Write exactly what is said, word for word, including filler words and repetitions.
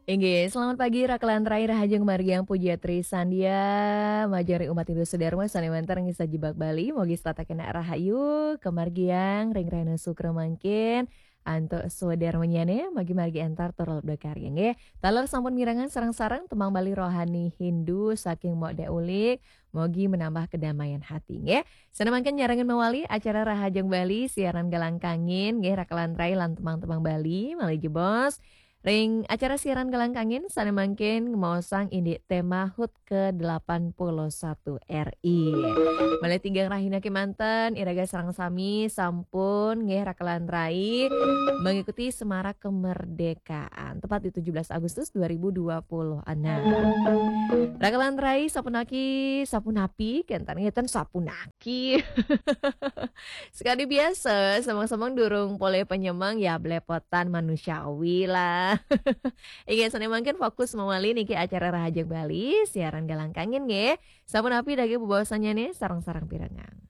Inggih, selamat pagi, Raka lan Rai, rahajeng margiang puja Tri Sandia, majeng ring umat Hindu sedherma sané wénten ring sajebag Bali, mugi setata kénak rahayu, kamargiang ring rahina Sukra mangkin, antuk swadarmanyané, mugi margi éntar tur lebda karya, nggih. Taler sampun mirengang sareng-sareng tembang Bali rohani Hindu saking Mok Dék Ulik, mugi menambah kedamaian hati, nggih. Sané mangkin nyarengin mawali acara Rahajeng Bali, siaran Galang Kangin, nggih, Raka lan Rai lan tembang-tembang Bali, malih jebos. Ring acara siaran Galang Kangin, sané mangkin ngemaosang indik tema HUT ke delapan puluh satu R I. Malih tigang rahina kémanten, iraga sareng sami sampun, nggih, Raka lan Rai mengikuti Semarak Kemerdekaan, tepat di tujuh belas Agustus dua ribu dua puluh enam. Raka lan Rai, sapunaki, sapunapi, kénten ngéten sapunaki. Sekadi biasa, semeng-semeng durung polih panyemeng, ya belepotan manusiawi lah. Inggih, sané mangkin fokus mawali niki acara Rahajeng Bali, siaran Galang Kangin nggih. Sapunapi daging bebaosannyané sareng-sareng pirengang.